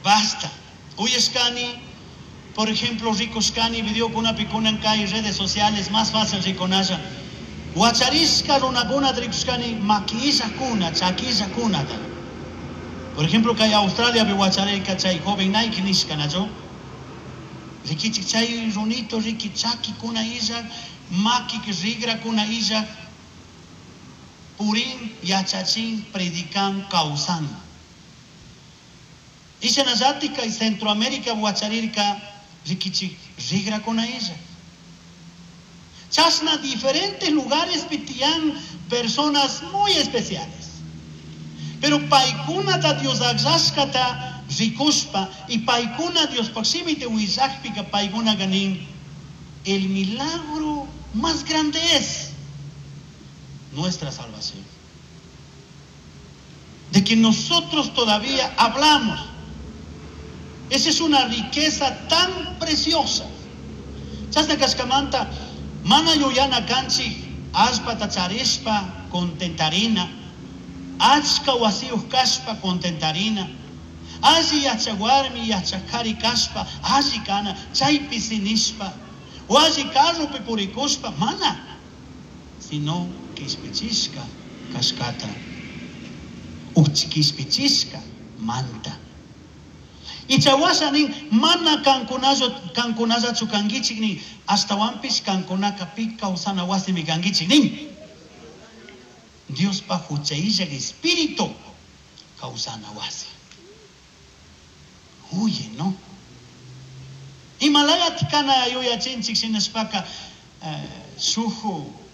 Basta. Uyashkani, por ejemplo, rikushkani videokunapi kunan kay redes sociales más fácil rikunalla. Wacharishka runakunata rikushkani maki illakuna, chaki illakunata. Por ejemplo, kay Australiapi wacharirka chay joven Nike nishka, nachu? Rikichik chay runito riki chakikuna illak, maki rigrakuna illak, purin, yachachin, predican, kawsan. Ishanallatik kay Centroamérica wacharirka rikichik rigrakuna illak. Chashna diferentes lugares tiyan personas muy especiales. Pero paykunata Dios akllashkata rikushpa y paykuna Diospaj shimita willakpika paykunaka nin el milagro más grande es nuestra salvación. De que nosotros todavía hablamos. Esa es una riqueza tan preciosa. Chashna kashkamanta mana yuyana kanchik allpata charishpa contentarina, achka wasiyuq kashpa contentarina, alli yachak warmi yachak kari kashpa alli kana chaypi sinishpa, o alli carropi purikushpa mana, sino kishpichishka kashkata, kishpichishka manta. Ichawasha nin mana kankunallachu kankichik nin, ashtawanpish kankunaka pi kawsana wasimi kankichik nin. Diospa hucha illak espíritu kawsana wasi. Huye, ¿no? Imalayat kana yuyachinchik shinashpaka shuk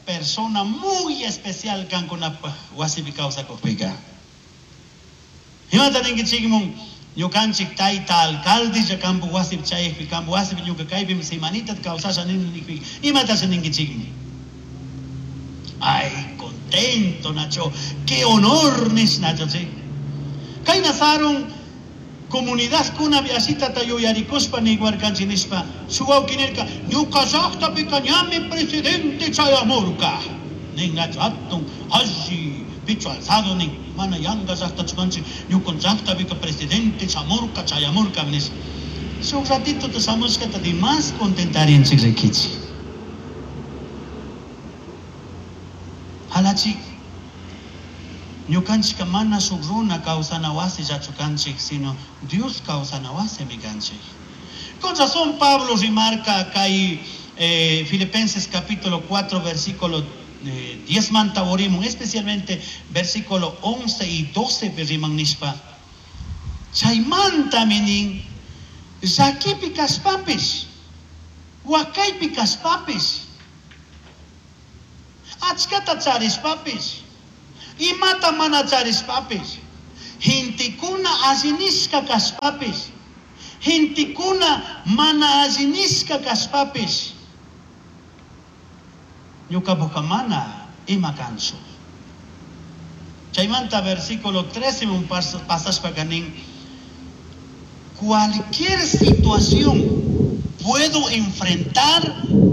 persona muy especial kankunapaj wasipi kawsakukpika. Imata ninkichikmun ñukanchik tayta alcalde kampu wasipi chayakpi kampu wasipi ñuka kaypimi semanita kawsasha nini nikpi imatasha ninkichikmi. Ay, contento nacho, qué honor nish nacho chi. Kayna sarun comunidad kuna ashitata yuyarikushpa niywarkanchik nishpa shuk wawki nirka ñuka llaqtapika ñami presidente chayamurka nin nacho hatun alli pecho alzado nin mana yanka llaqtachu kanchik ñuka llaqtapika presidente chamurka chayamurka nish. Shuk ratito shamushkata de más contentarinchik rikichik. Halachik ñukanchikka mana shuk runa kawsana wasillachu kanchik, sino Dios kawsana wasimi kanchik. Con razón Pablo remarca kay Filipenses capítulo 4 versículo 10 manta orimun, especialmente versículo 11 y 12 riman nishpa. Chaymanta nin llakipi kashpapish, wakaypi kashpapish, achkata charishpapish, imata mana charishpapish, gentekuna allinishka kashpapish, gentekuna mana allinishka kashpapish, ñukapuka mana ima kanchu. Chaymanta versículo 13 un pasashpaka nin, cualquier situación puedo enfrentar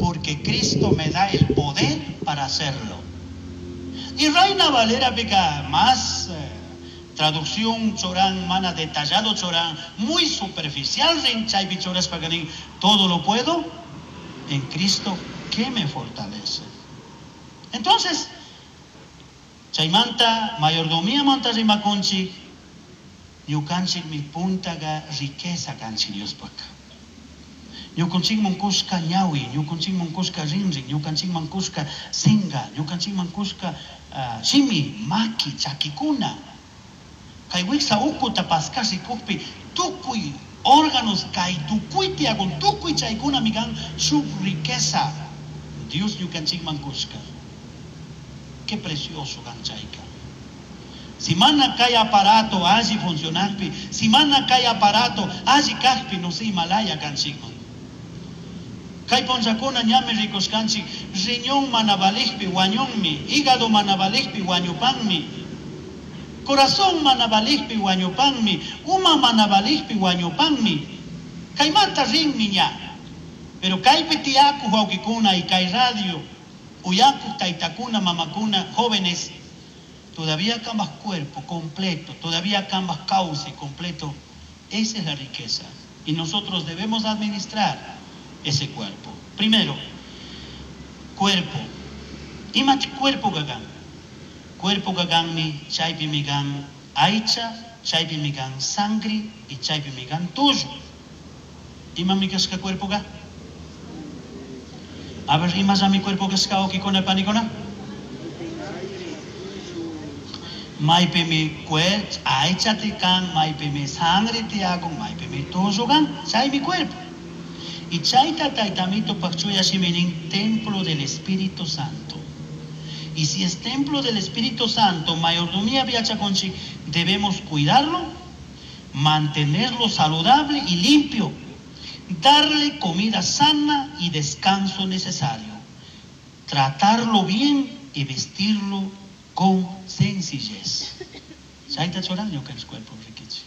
porque Cristo me da el poder para hacerlo. Y Reina Valera pica más traducción chorán, mana detallado chorán, muy superficial rin chaypi chorashpaka nin, todo lo puedo en Cristo que me fortalece. Entonces, chaymanta mayordomía manta rimakunchik, ñukanchik mi puntaga riqueza kanchik Diospaka. Ñukanchikman kushka ñawi, ñukanchikman kushka rinrin, ñukanchikman kushka singa, ñukanchikman kushka shimi, maki, chakikuna. Kay wiksa ukuta paskash rikukpi tukuy órganos kay tukuy tiyakun, tukuy chaykunami kan shuk riqueza Dios ñukanchikman kushka. Qué precioso kan chayka. Si mana kay aparato alli funcionakpi, si mana kay aparato alli kajpi, no sé, Himalaya kanchikman. Kay punllakuna ñami rikushkanchik, riñón mana valijpi wañunmi, hígado mana valijpi wañupanmi, corazón mana valijpi wañupanmi, uma mana valijpi wañupanmi. Kaymanta rinmi ña. Pero kaypi tiyakuq wawqikuna y kay radio, uyakuq taytakuna, mamakuna, jóvenes, todavía cambas cuerpo completo, todavía cambas cauce completo. Esa es la riqueza. Y nosotros debemos administrar ese cuerpo. Primero, cuerpo. Ima cuerpo gagan. Cuerpo gaganmi, chaypimi kan aycha, chaypimi kan sangre y chaypimi kan tullu. Imami kashka cuerpo ga? A ver, imallami cuerpo kashka wawkikuna panikuna? Maypimi aycha kan, maypimi sangre tiyakun, maypimi tullu kan, chaymi cuerpo. Y chayta Tayta Amitopaj chuya shimi nin templo del Espíritu Santo. Y si es templo del Espíritu Santo, mayordomía yachakunchik, debemos cuidarlo, mantenerlo saludable y limpio, darle comida sana y descanso necesario, tratarlo bien y vestirlo con sencillez. Chayta churan ñukanchik cuerpo rikichik.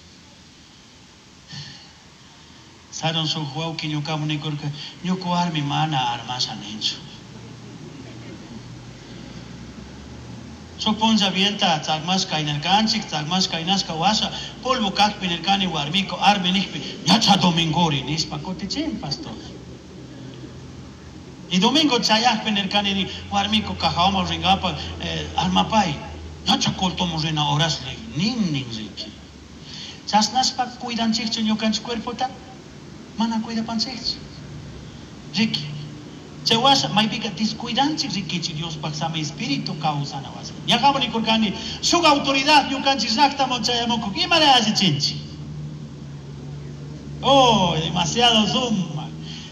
Saron shuk wawki ñukamun nikurka, ñuka warmi mana armasha ninchu. Shuk punlla bienta tzakmashka kaynarkanchik, tzakmashka kaynashka washa, polvo kakpi nirkani warmiko armi nijpi, ñacha domingori nishpa kutichin, pastor. Y domingo chayakpi nirkani ni warmiko cajawaman ringapa armapay, ñacha cultomun rina horasli, nin nin riki. Chashnashpa cuidanchikchu ñukanchik cuerpota? Mana cuidapanchikchu. Riki. Chay washa maypika descuidanchik rikichik Diospaj sami espíritu kawsana wasi. Ñaqamun nikurkani shuk autoridad ñukanchik llaqtaman chayamukuk imara allichinchik. Oh, demasiado suma.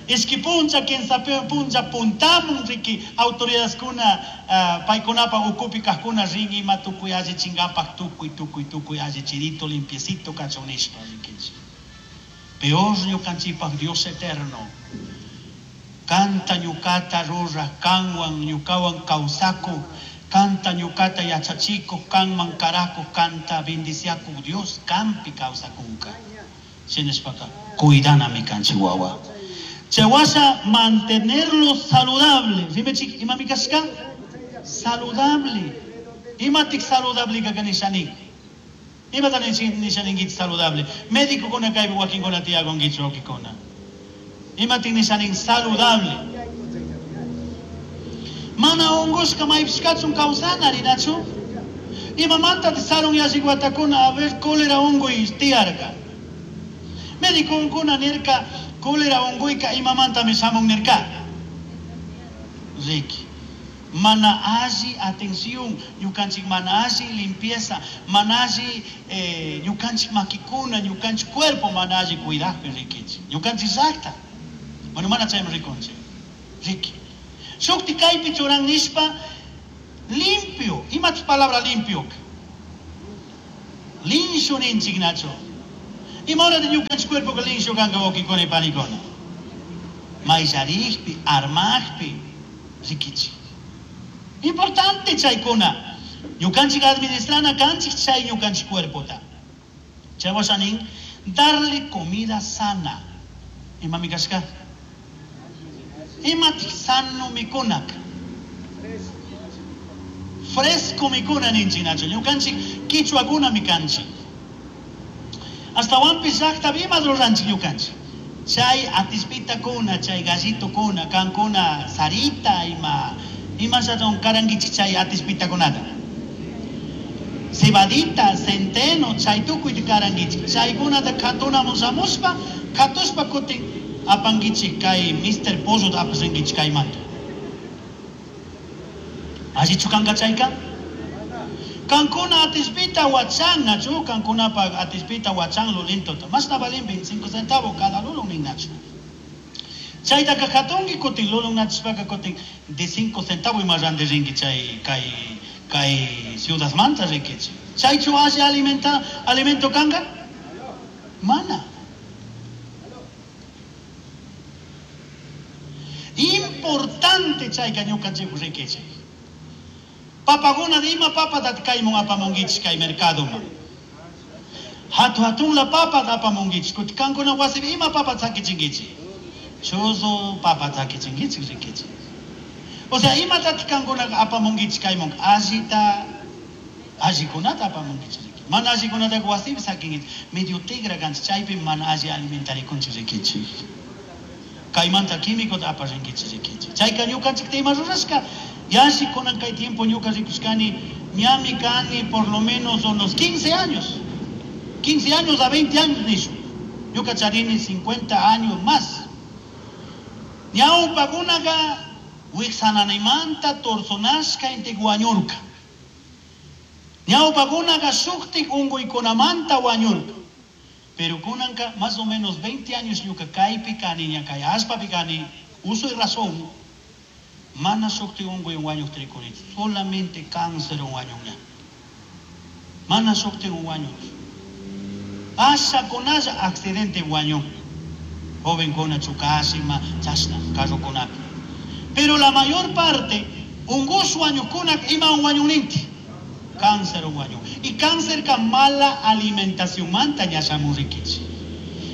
Ishki puncha kinsa puncha puntamun riki autoridadkuna paykunapa ukupi kaqkuna rin ima tukuy allichinkapak tukuy tukuy tukuy allichirito limpiecito kachun nishpa rikichik. Peor ñukanchikpaj Dios eterno. Kanta ñukata ruraj, kanwan ñukawan kawsakuq, kanta ñukata yachachikuq, kanman karakuq, kanta bendiciakuq Dios kanpi kawsakunka. Shinashpaka cuidanami kanchik wawa. Chay washa mantenerlo saludable. Rimechik imami kashka? Saludable. Imatik saludable kaka nishani? Imata nishaninkichik saludable? Médicokuna kaypi wakinkuna tiyakunkichik wawkikuna. Imatik nishanin saludable? Mana ungushka maypish kachun kawsana rinachu? Imamanta sarun yallik watakuna a ver cólera unguy tiyarka. Médicokuna nirka cólera unguyka imamantami shamun nirka. Riki. Mana alli atención, ñukanchik mana alli limpieza, mana alli ñukanchik makikuna, ñukanchik cuerpo mana alli cuidajpi rikichik. Ñukanchik llaqta. Bueno, mana chaymi rikunchik. Riki. Shukti kaypi churan nishpa limpio. Imatik palabra limpio? Linshu ninchik nachu. Ima hora de ñukanchik cuerpo linshu kanka wawkikuna y panikuna? Mayllarikpi, armakpi, rikichik. Importante chaykuna. Ñukanchik administrana kanchik chay ñukanchik cuerpota. Chay washa nin, darle comida sana. Imami kashka? Imatik sano mikunak? Fresco mikuna ninchik nachu. Ñukanchik kichwakuna mikanchik. Ashtawanpish llaqtapi ima ruranchik ñukanchik. Chay atispitakuna, chay gallitokuna, kankuna sarita ima imashaton karankichik chay atispitakunata. Cebadita, centeno, chay tukuy karankichik. Chaykunata katunamun shamushpa, katushpa kutin apankichik kay Mr. Pollota apasrinkichik kaymanta. Allichu kanka chayka? Kankuna atispita wachan, nachu, kankunapa atispita wachan lulintota. Mashna valin 25 centavos cada lulun nin nachu. Chaytaka katunki kutin lulun nachishpaka kutin de 5 centavos ima ranti rinki chay kay kay ciudadmanta rikichik. Chaychu alli alimenta alimento kanka? Mana. Importante chayka ñukanchik rikichik. Papakuna de ima papa kaymun apamunkichik kay mercadoman. Hatu hatunla papa apamunkichik. Kuti kankuna wasipi ima papa chakichinkichik. Chuzu papa chakichinkichik rikichik. O sea, imatataq kankuna apamunkichik kaymun allita allikunata apamunkichik rikichik. Mana allikunataqa wasipi sakinkichik. Medio tigra kanchik, chaypi mana alli alimentarikunchik rikichik. Kaymanta químicota aparinkichik rikichik. Chayka ñukanchikta ima rurashka, yalli kunan kay tiempo ñuka rikushkani, ñami kani por lo menos unos 15 años. 15 años a 20 años nishu. Ñuka charini 50 años más. Ñawpakunaqa wiksananimanta torzonashka intik wañurka. Ñawpakunaqa shuktik unquykunamanta wañurka. Pero kunanka más o menos 20 años ñuka kaypi kani, ña kay allpapi kani, uso y razón, mana shuktik unquy wañuqta rikunichu, solamente cáncer wañunña. Mana shuktik wañunchu. Ashakunalla accidente wañun. Jovenkuna chukashima, chashna, carrokunapi. Pero la mayor parte, ungush wañukuna ima wañuninti. Cáncer wañun. Y cáncer ka mala alimentación manta ña shamun rikichik.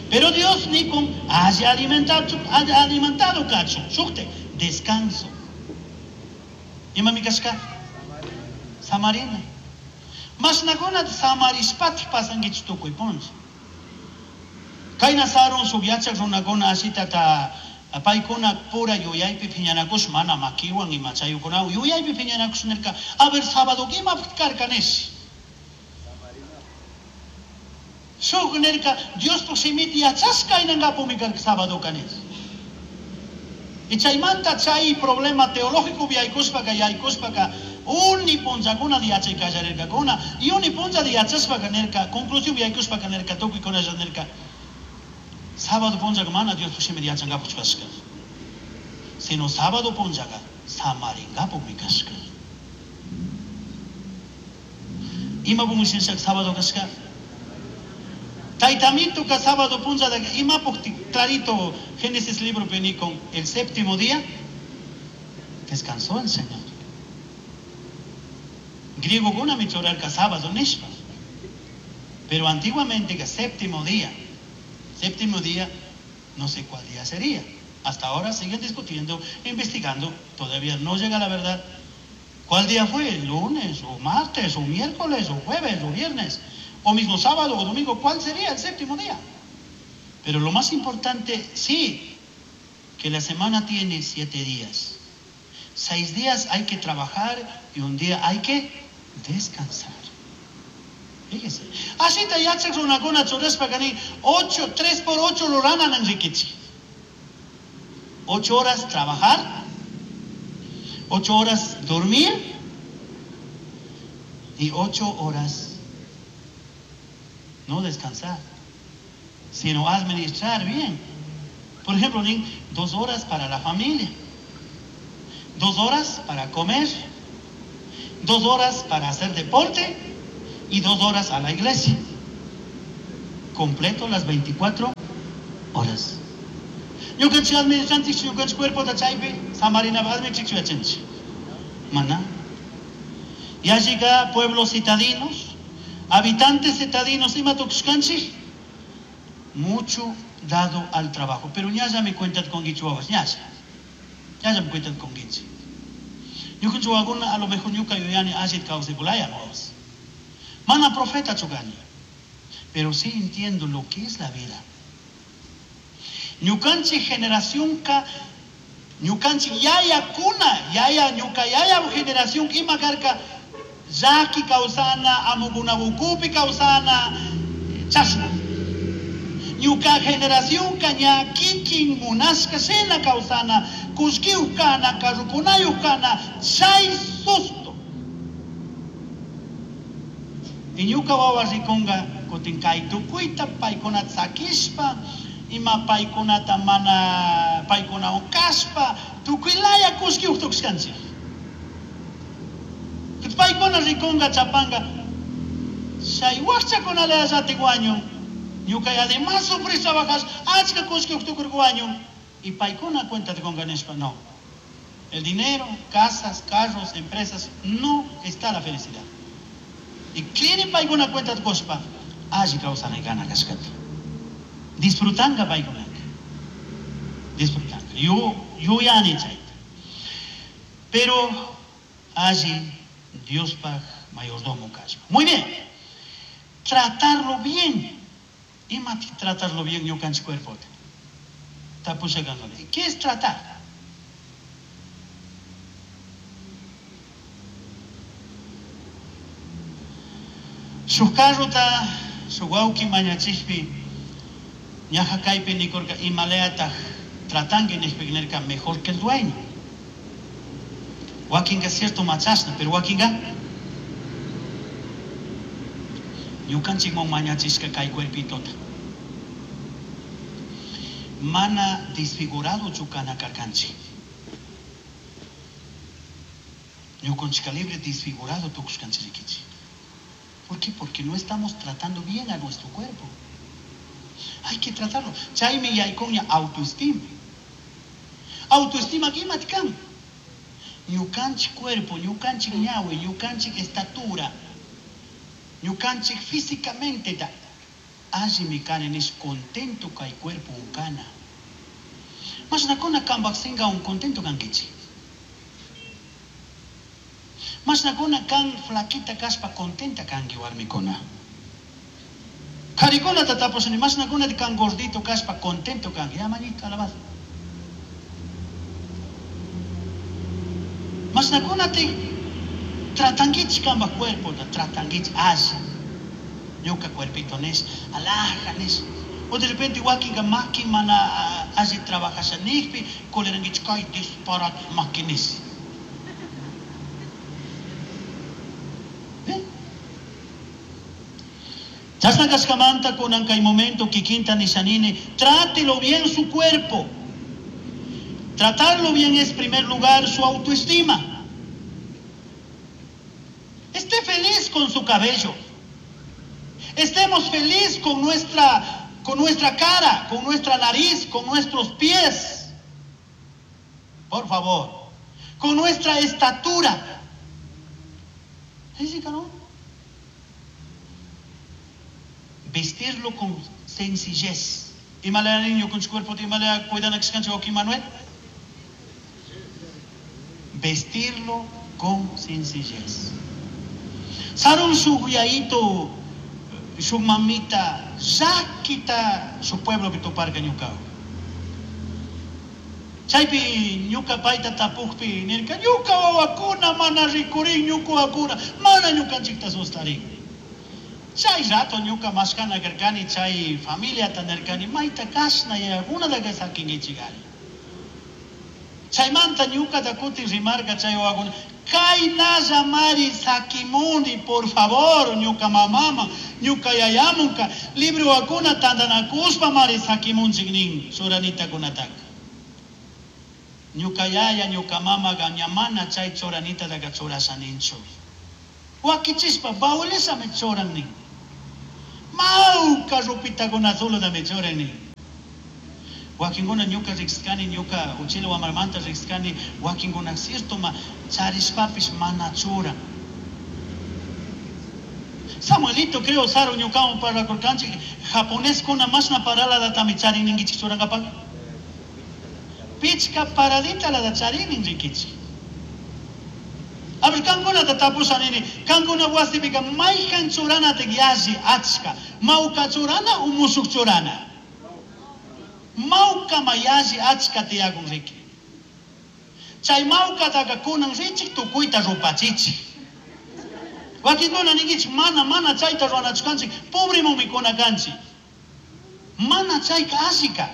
Pero Dios nikun haya alimentado, haya alimentado kachun, shukte, descanso. Ima mi kashka? Samarina. Mashnakuna samarishpatik pasankichik tukuy punlla. Kayna sarun shuk yachak runakuna ashitata paykuna pura yuyaypi phiñanakush mana makiwan ima chayukunawan yuyaypi phiñanakush nirka, a ver sábado imapaq karka nish. Shuk nirka, Diospaq shimita yachashka aynankapumi karka sábado nish. Y chaymanta chay problema teológico yaykushpaka yaykushpaka uni punllakuna yachay kallarirkakuna y uni punlla yachashpaka nirka, conclusión yaykushpaka nirka, tukuykunalla nirka, sábado punllaka mana Diospaq shimita yachankapaq kashka, sino sábado punllaka samarinkapukmi kashka. Imapukmi shinashaka sábado kashka? Taytamituka sábado punllata imapuk clarito Génesis libro con el séptimo día descansó el Señor. Griego kunami churarka sábado nishpa. Pero antiguamente que séptimo día, no sé cuál día sería. Hasta ahora siguen discutiendo, investigando, todavía no llega la verdad. ¿Cuál día fue? ¿El lunes, o martes, o miércoles, o jueves, o viernes? O mismo sábado o domingo, ¿cuál sería el séptimo día? Pero lo más importante, sí, que la semana tiene 7 días. 6 días hay que trabajar y un día hay que descansar. Fíjese. Así te yachak runakuna churashpa kani 8, 3 por 8 ruranan rikichik. 8 horas trabajar, 8 horas dormir y 8 horas no descansar, sino administrar bien. Por ejemplo, 2 horas para la familia, 2 horas para comer, 2 horas para hacer deporte y 2 horas a la iglesia. Completo las 24 horas. Ñukanchik administranchik, ñukanchik cuerpota chaypi, samarina administranchik yachanchik. Mana. Ya llega pueblos citadinos, habitantes citadinos, ima tukushkanchik, mucho dado al trabajo. Pero ñalla me cuentan con guichuawas, ñalla. Ñalla me cuentan con guichi. Ñukanchik wawakuna a lo mejor ñuka yuyani allit kawsakulaya wawas. Mana profeta chukani. Pero sí entiendo lo que es la vida. Ñukanchik generación ka, ñukanchik yaya kuna, yaya ñuka yaya generación ima karka, llaki kawsana, amukunabukupi kawsana, chashna. Ñuka generación ka ña kikin munashka shina kawsana, kullkiyuq kana, carrukunayuq kana, chay susto. Y ñuka wawa rikunga kutin kay tukuyta paykunata sakishpa, ima paykunata mana paykunawan kashpa, tukuylaya kullkiyuq tukushkanchik. Paykuna rikunga chapanga, chay wakchakunalla llatik wañun, ñuka además sufrir trabajas, achka kullkiyuq tukurka wañun, y paykuna cuenta tikunga nishpa, no. El dinero, casas, carros, empresas, no está la felicidad. Y quieren paykuna cuenta tikushpa, alli kawsanay kana kashkata. Disfrutanga paykunaka. Disfrutanga. Yuyani chayta. Pero alli Diospaj mayordomo kashpa. Muy bien. Tratarlo bien. Imati tratarlo bien ñukanchik cuerpota. Tapusha kankuna. ¿Qué es tratar? Shuk carrota, shuk wawki mañachikpi, ñaja kaypi nikurka imalayataj tratanki nishpa nirka mejor que el dueño. Wakinka cierto machashna, pero wakinka ñukanchikman mañachishka kay cuerpitota. Mana desfigurado kana karkanchik. Ñukanchika libre desfigurado tukushkanchik. ¿Por qué? Porque no estamos tratando bien a nuestro cuerpo. Hay que tratarlo. Chaymi yaykuña autoestima. Autoestima imati kan. Ñukanchik cuerpo, ñukanchik ñawi, ñukanchik estatura, ñukanchik físicamente da. Allimi kani nish contento kay cuerpo unkana. Mashnakuna kambak singa un contento kankichik. Mashnakuna kan flaquita kaspa contenta kanki warmikuna. Karikunata tapushani mashnakuna kan gordito kaspa contento kanki. Ya manito alabado. Mashnakuna te tratankichik kambak cuerpo, tratankichik alli. Ñuka cuerpito nish, alaja nish. O de repente wakinka maki mana alli trabajasha nijpi, colerankichik kay disparate maki nish. Chashna kashkamanta kunan kay momento kikinta nishanini, trátelo bien su cuerpo. Tratarlo bien es, en primer lugar, su autoestima. Esté feliz con su cabello. Estemos feliz con nuestra cara, con nuestra nariz, con nuestros pies. Por favor. Con nuestra estatura. ¿Sí, no? Vestirlo con sencillez. Imalaya niño con su cuerpo, imalaya cuidan a que Manuel. Vestirlo con sencillez. Sarun su guiaito, su mamita, llakita su pueblo que toparga ñuka. Chaypi ñuka payta tapukpi nirka ñuka wawakuna mana rikurin ñuka wawakuna mana ñukanchikta sustarin. Chay rato ñuka mashkana karkani chay familiata nirkani mayta kashna yayakunataka sakinkichikari. Chaymanta ñukata kutin rimarka chay wawakuna kaynalla mari sakimuni por favor ñuka mamama ñuka yayamunka libre wawakuna tantanakuspa mari sakimunchik nin churanitakunataka. Ñuka yaya ñuka mamaga ña mana chay churanitataqa churashaninchu. Wakichispa baulesami churan nin. Mawka rupitakuna solotami churan nin. Wakinkuna ñuka riqsikani ñuka uchila wamarmanta riqsikani wakinkuna ciertoma charishpapish mana churan. Samuelito creo Saro ñukawan parlakurkanchik japoneskuna mashna paraladatami charin ninkichik churankapak. Pichka paradita la da charinin rikichik. A ver, kankunata tapushanini, kankuna wasipika mayhan churanata yalli achka, mawka churana u mushuk churana. Mawka ma yalli achka tiyakun riki. Chay mawkataka kunan richik tukuyta rupachichik. Wakinkuna ninkichik mana mana chayta ruwanachu kanchik, pobremunmi kuna kanchik. Mana chayka allika.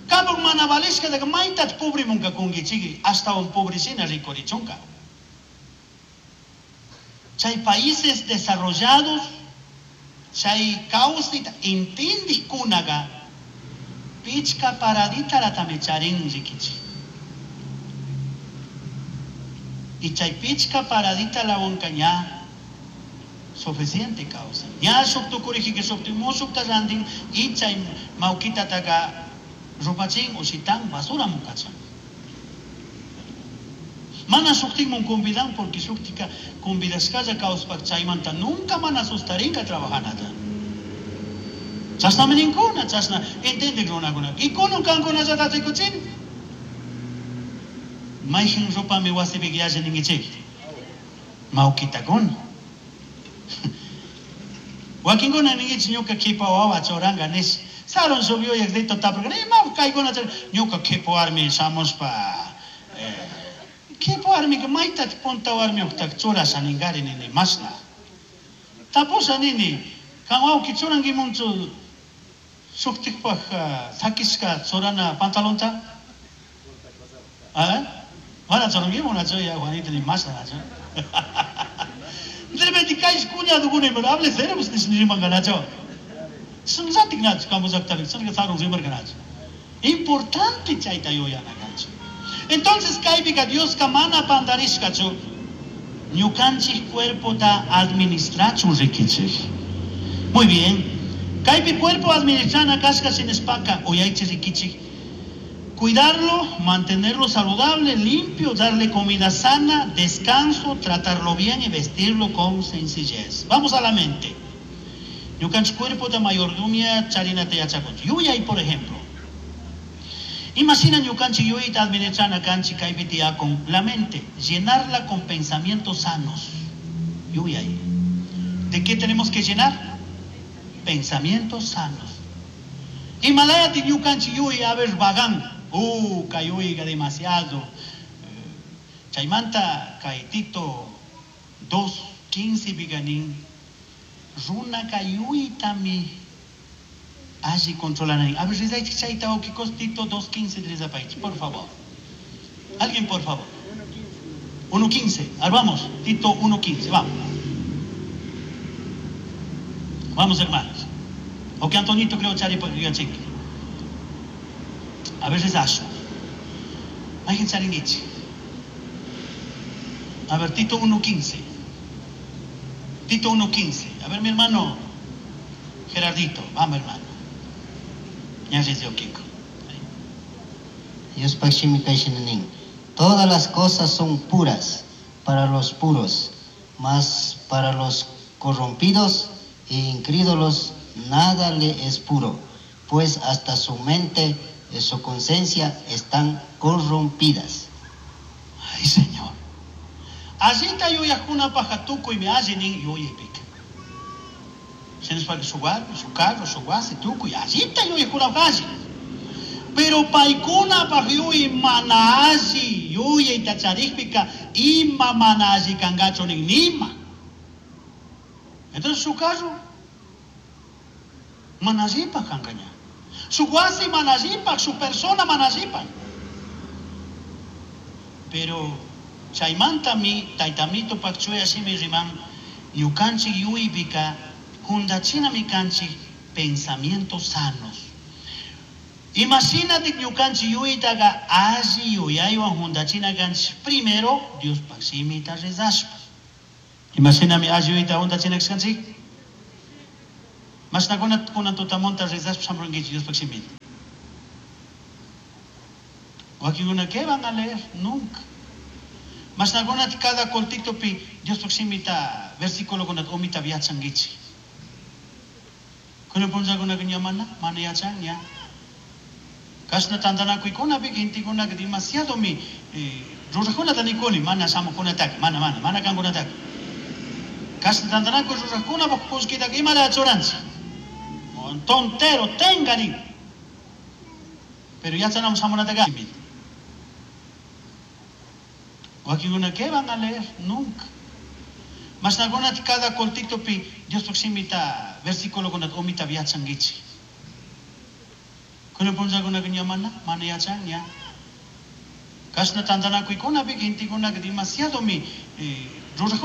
Kapak mana valishkataka maytach pobremunka kunkichikri, ashtawan pobreshina rikurichunka. Chay países desarrollados, chay kawsayta intindikkunaqa pichka paraditaratami charin rikichik. Y chay pichka paradita lawanka ña suficiente kawsan. Ña shuk tukurijika shuk mushukta rantin y chay mawkitataka rupachin ushitan basura mukachan. Mana shuktikmun convidan porque shuktika convidashkalla kawspak chaymanta nunca mana sustarinka trabajanata. Chashnami ninkuna, chashna entendik runakuna. Y kunan kankunallata rikuchin. Mayhin rupami wasipik yalli ninkichik. Mawkitakuna. Wakinkuna ninkichik ñuka kipa wawa churanga nish. Sarun shuk yuyaq rito tapurka, ima kaykuna ñuka kipa warmi shamushpa kipa warmika mayta punta warmiuqta churasha ningari nini mashna. Tapusha nini, kan wawki churankimunchu shuktikpaq sakishka churana pantalonta? ¿Ah? Mana churankimunachu ya Juanita ni mashna nachu. De repente kay cuñado pero hable serio pues ni rimanka Sunzatik nachu kampullaqtari chayka sarun rimarka nachu. Importante chayta yuyana kanchik. Entonces kaypika Dioska mana pandarishkachu ñukanchik cuerpota administrachun rikichik. Muy bien. Kaypi cuerpo administrana kashka shinashpaka uyaychik rikichik. Cuidarlo, mantenerlo saludable, limpio, darle comida sana, descanso, tratarlo bien y vestirlo con sencillez. Vamos a la mente. Ñukanchik cuerpo de mayordomía charinata yachakunchik. Yuyay, por ejemplo. Imagina ñukanchik yuyayta administrana kanchik kaypi tiyakun la mente, llenarla con pensamientos sanos. Yuyay. ¿De qué tenemos que llenar? Pensamientos sanos. Imalayati ñukanchik yuyay a ver vagan. Kay yuyayqa demasiado. Chaymanta kay Tito 2:15 piqa nin runaka yuyaytami alli controlarán. A ver, rezaychik chayta wawqikos Tito 2:15 rezapaychik, por favor. Alguien, por favor. 1:15. A ver, vamos, Tito 1:15, vamos. Vamos, hermanos. O que Antonito creo chari yachinki. A ver, rezashu. Mayqin charinkichik. A ver, Tito 1:15. Tito 1:15. A ver, mi hermano Gerardito, vamos, hermano. Ya Kiko. Diospaj shimi kayshina nin. Todas las cosas son puras para los puros, mas para los corrompidos e incrédulos nada le es puro, pues hasta su mente y su conciencia están corrompidas. Ay, Señor. Allita yuyajkunapajqa tukuymi alli nin yuyaypika. Shinashpaka shuk warmi, shuk carro, shuk wasi, tukuy allita yuyajkunapaj alli. Pero paykunapaj yuyay mana alli yuyayta charikpika ima mana alli kankachu nin nima. Entonces su carro mana allipaj kankaña. Su wasi mana allipaj, su persona mana allipaj. Pero chaymantami taytamito chuya shimi riman ñukanchik yuyaypika juntachinami kanchik pensamientos sanos. Imagínate ñukanchik yuyaytaqa alli yuyaywan juntachina kanchik primero Diospaj shimita rezashpa. Imashinami alli yuyayta juntachina kanchik. Mashnakuna kunan tutamunta rezashpa shamurunkichik Diospaj shimita. Wakinkuna ¿qué van a leer? Nunca. Mashnakuna cada cortitopi Diospaj shimita versículo kunata umita yachankichik. Kunan punllakunaka ña mana, mana yachan ña. Kashna tantanakuykunapi gentekunaka demasiadomi rurajkunata nikuni, mana shamukunataka, mana, mana, mana kankunataka. Kashna tantanakuy rurajkunapaj kullkitaka imala churanchik. Tontero, tenga nin. Pero yachanamos shamunataka. Wakinkuna ¿qué van a leer? Nunca. Mashnakuna cada cortitopi Diospaj shimita versículo kunata umita yachankichik. Kunan punllakunaka ña mana, mana yachan ña. Kashna tantanakuykunapi gentekunaka demasiadomi rurajkunata